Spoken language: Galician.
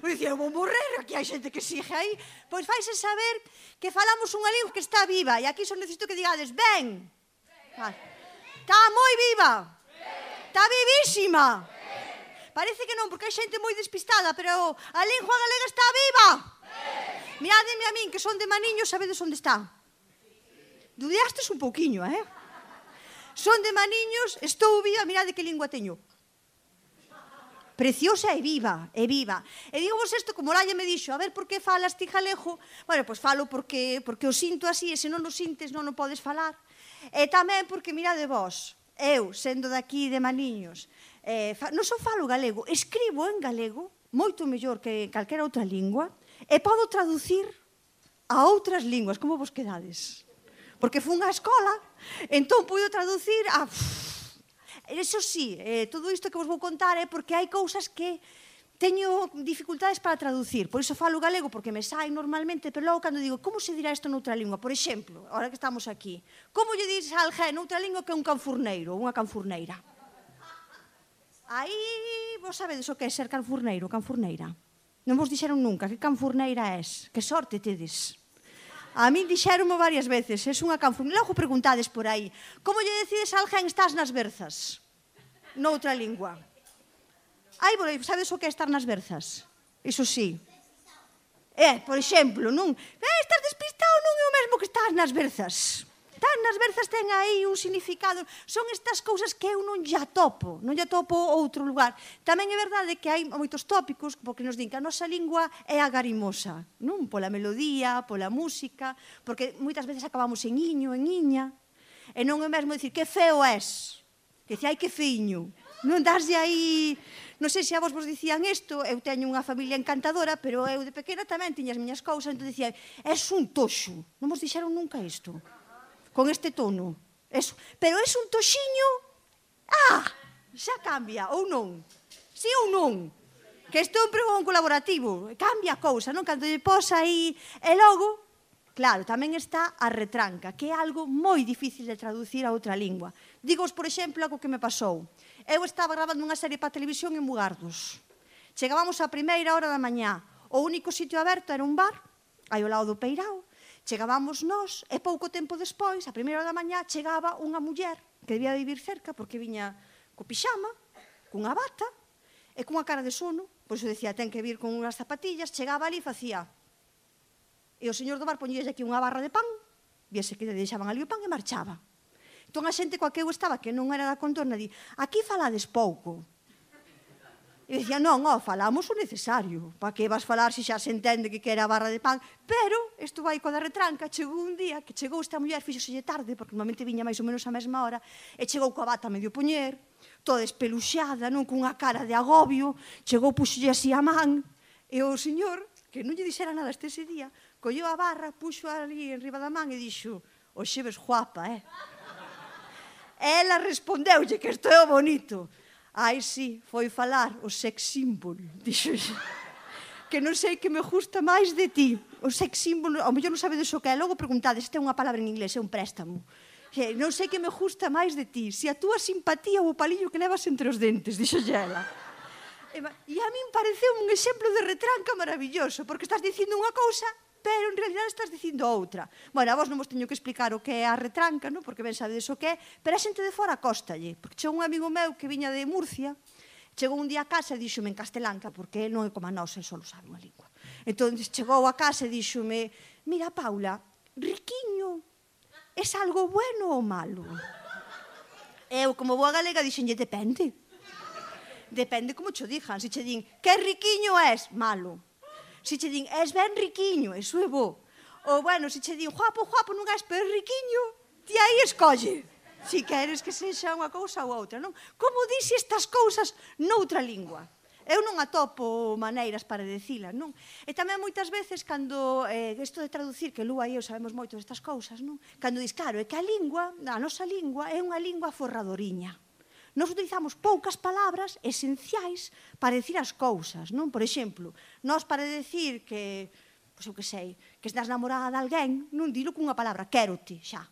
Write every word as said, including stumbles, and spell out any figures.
Eu dicía, eu vou morrer, aquí hai xente que sigue aí. Pois faise saber que falamos unha lingua que está viva, e aquí só necesito que digades, ben. Está moi viva. Está vivísima. Parece que non, porque hai xente moi despistada, pero a lingua galega está viva. Mirademe a min, que son de Maniños, sabedes onde está? Dudiastes un pouquiño, eh? Son de Maniños, estou viva, mirade que lingua teño. Preciosa e viva, e viva. E digo vos isto, como Laia me dixo, a ver por que falas ti galego? Bueno, pois falo porque, porque o sinto así, e se non o sintes non o podes falar. E tamén porque, mirade vos, eu, sendo daqui de Maniños, eh, non só falo galego, escribo en galego, moito mellor que calquera outra lingua, e podo traducir a outras linguas. Como vos quedades? Porque fun á escola, entón puido traducir a... Eso sí, eh, todo isto que vos vou contar é porque hai cousas que teño dificultades para traducir. Por iso falo galego, porque me sai normalmente, pero logo cando digo, como se dirá isto noutra lingua? Por exemplo, ahora que estamos aquí, como lle dis a alguén noutra lingua que é un canfurneiro ou unha canfurneira? Aí vos sabedes o que é ser canfurneiro ou canfurneira? Non vos dixeron nunca que canfurneira és. Que sorte tedes. A min dixeronmo varias veces, es unha canfurneira. Logo preguntades por aí, como lle decides a alguén estás nas berzas? Noutra lingua. Aí, sabedes o que é estar nas berzas? Iso sí. É, por exemplo, non? Eh, estás despistado, non é o mesmo que estás nas berzas. Estás nas berzas ten aí un significado. Son estas cousas que eu non lla topo, non lla topo outro lugar. Tamén é verdade que hai moitos tópicos, porque nos din que a nosa lingua é agarimosa, non? Pola melodía, pola música, porque moitas veces acabamos en iño, en iña, e non é mesmo dicir que feo és, que dicir, ai que feiño. Non daslle aí... Non sei se a vos vos dicían isto, eu teño unha familia encantadora, pero eu de pequena tamén tiña as miñas cousas, entón dicían, és un toxo. Non vos dixeron nunca isto? Con este tono. Eso. Pero é un toxiño... Ah, xa cambia, ou non? Si ou non? Que isto é un pregón colaborativo. Cambia a cousa, non? Cando lle pos aí... E logo, claro, tamén está a retranca, que é algo moi difícil de traducir a outra lingua. Digos, por exemplo, algo que me pasou. Eu estaba grabando unha serie para a televisión en Mugardos. Chegábamos á primeira hora da mañá. O único sitio aberto era un bar, aí ao lado do Peirao. Chegábamos nós, e pouco tempo despois, a primeira hora da mañá, chegaba unha muller que debía vivir cerca, porque viña co pixama, cunha bata, e cunha cara de sono. Pois eu decía, ten que vir con unhas zapatillas, chegaba ali e facía. E o señor do bar poñíase aquí unha barra de pan, viese que deixaban ali o pan e marchaba. Entón a xente coa que eu estaba, que non era da contorna, di, aquí falades pouco. E dicía, non, ó, falamos o necesario. Pa que vas falar se xa se entende que quera a barra de pan? Pero, isto vai coa da retranca, chegou un día que chegou esta muller, fixoselle tarde, porque normalmente viña máis ou menos a mesma hora, e chegou coa bata medio poñer, toda espeluxada, non, cunha cara de agobio, chegou, puxolle así a man, e o señor, que non lle dixera nada este ese día, colleu a barra, puxo ali en riba da man e dixo, oxe ves guapa, eh? E ela respondeulle que isto é o bonito. Ai, sí, foi falar o sex symbol, dixo xa. Que non sei que me gusta máis de ti. O sex symbol, ao mellor non sabedes o que é. Logo preguntades, este é unha palabra en inglés, é un préstamo. Non sei que me gusta máis de ti. Se a túa simpatía ou o palillo que levas entre os dentes, dixo xa ela. E a min pareceu un exemplo de retranca maravilloso, porque estás dicindo unha cousa, pero en realidad estás dicindo outra. Bueno, a vos non vos teño que explicar o que é a retranca, non? Porque ben sabedes o que é, pero a xente de fora cóstalle, porque chegou un amigo meu que viña de Murcia, chegou un día a casa e díxome en castelanca, porque non é como a nosa, só sabe unha lingua. Entón chegou a casa e díxome, mira, Paula, riquiño, é algo bueno ou malo? Eu, como boa galega, dixenlle, depende. Depende como cho dixan. Se che din, que riquiño és? Malo. Se che din, és ben riquiño, eso é bo. Ou, bueno, se che din, guapo, guapo, non és, pero riquiño, ti aí escolle. Si queres que sexa unha cousa ou outra, non? Como dixe estas cousas noutra lingua? Eu non atopo maneiras para dicilas, non? E tamén moitas veces, cando, eh, isto de traducir, que Lúa e eu sabemos moito destas cousas, non? Cando dis, claro, é que a lingua, a nosa lingua, é unha lingua forradoriña. Nós utilizamos poucas palabras esenciais para decir as cousas, non? Por exemplo, nós para decir que, pois eu que sei, que estás namorada de alguén, non dilo cunha palabra, quérote, xa.